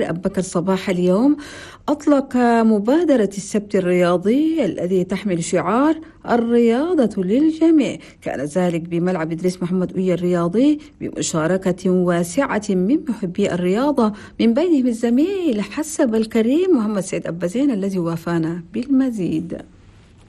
أبكر صباح اليوم أطلق مبادرة السبت الرياضي الذي تحمل شعار الرياضة للجميع. كان ذلك بملعب إدريس محمد أويا الرياضي بمشاركة واسعة من محبي الرياضة، من بينهم الزميل حسب الكريم محمد سيد أبازين الذي وافانا بالمزيد.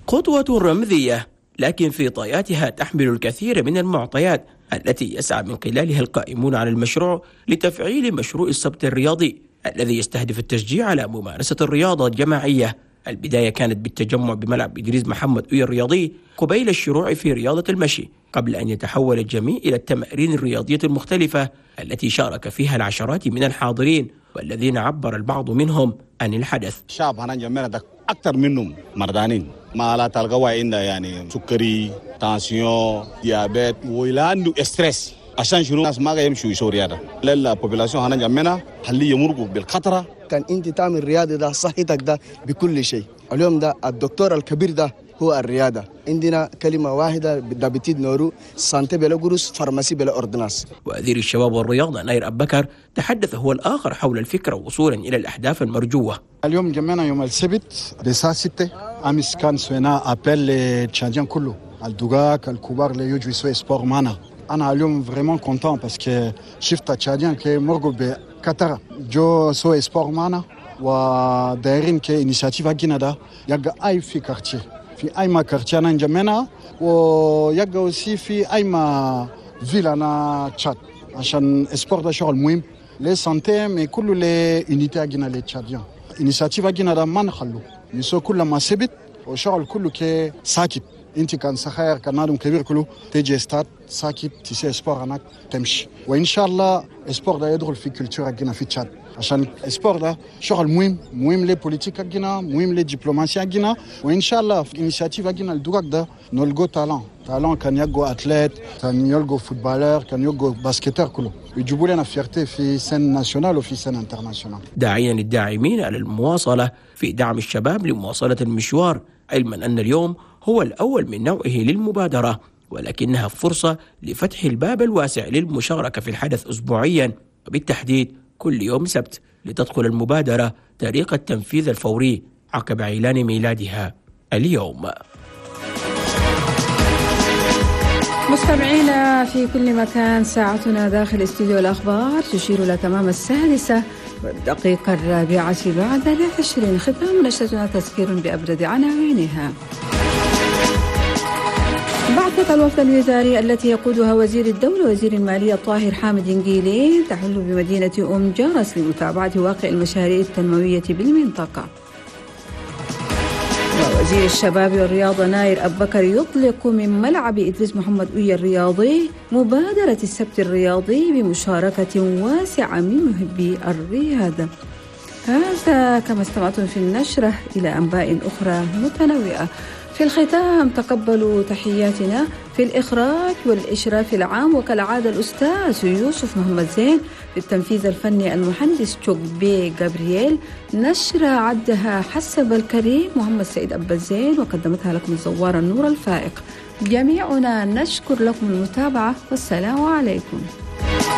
خطوة رمزية لكن في طياتها تحمل الكثير من المعطيات التي يسعى من خلالها القائمون على المشروع لتفعيل مشروع السبت الرياضي الذي يستهدف التشجيع على ممارسة الرياضة الجماعية. البداية كانت بالتجمع بملعب إدريس محمد أويا الرياضي قبيل الشروع في رياضة المشي، قبل أن يتحول الجميع إلى التمارين الرياضية المختلفة التي شارك فيها العشرات من الحاضرين والذين عبر البعض منهم عن الحدث. الشعب هنا جمعنا أكثر منهم مردانين ما لا تلقوا عندنا يعني سكري، tension، diabète وإلى عنده stress. عشان شنو الناس ما يمشوا يسووا رياضة؟ لا population هنا جمعنا خليه يمرقوا بالخطره. كان انت تعمل رياضة ده صحتك ده بكل شيء. اليوم ده الدكتور الكبير ده هو الرياضة. عندنا كلمة واحدة d'habitude نورو santé بلا قروش، pharmacie بلا ordonnance. وزير الشباب والرياضة ناير أبكر تحدث هو الآخر حول الفكرة وصولا إلى الأهداف المرجوة. اليوم جمعنا يوم السبت الساعة 6. أمس كان سوينا appel ل Tchadiens كله، الدقاق الكبار اللي يجوا يسوي sport معنا. أنا اليوم vraiment content parce que شفت Tchadiens كي مرقوا بكثرة جو سوي sport معنا، ودايرين كي initiative حقنا ده يبقى أي في quartier، في أي ما quartier أنا نجمعنا، ويبقى aussi في أي ما ville أنا تشاد، عشان sport ده شغل مهم ل santé mais كله ل unité حقنا ل Tchadiens. initiative حقنا ده ما نخلو نسو كل ما سبت وشغل كله كي ساكت. انت كان صغير كان نادم كبير كله تيجي ستاد ساكت تسي sport هناك تمشي، وان شاء الله sport ده يدخل في culture حقنا في تشاد، عشان sport ده شغل مهم، مهم ل politique حقنا، مهم ل diplomatie حقنا، وان شاء الله في initiative حقنا الدوغاك ده نلقو talent كان يلقوا athlète، كان يلقوا footballeur، كان يلقوا basketteur كله يجيبوا لنا fierté في scène nationale وفي scène internationale. داعيا الداعمين على المواصلة في دعم الشباب لمواصلة المشوار، علما ان اليوم هو الأول من نوعه للمبادرة، ولكنها فرصة لفتح الباب الواسع للمشاركة في الحدث أسبوعيا وبالتحديد كل يوم سبت، لتدخل المبادرة طريق التنفيذ الفوري عقب إعلان ميلادها اليوم. مستمعينا في كل مكان، ساعتنا داخل استوديو الأخبار تشير إلى تمام 6:24. ختام نشرتنا تذكير بأبرز عناوينها. بعثة الوفد الوزاري التي يقودها وزير الدولة وزير المالية طاهر حامد إنجيلي تحل بمدينة أم جرس لمتابعة واقع المشاريع التنموية بالمنطقة. وزير الشباب والرياضة ناير أبكر يطلق من ملعب إدريس محمد أويا الرياضي مبادرة السبت الرياضي بمشاركة واسعة من محبي الرياضة. هذا كما استمعتم في النشرة إلى أنباء أخرى متنوعة. في الختام تقبلوا تحياتنا في الإخراج والإشراف العام وكالعادة الأستاذ يوسف محمد زين، في التنفيذ الفني المهندس بي جابرييل، نشر عدها حسب الكريم محمد سيد أبا زين، وقدمتها لكم الزوارة النور الفائق. جميعنا نشكر لكم المتابعة والسلام عليكم.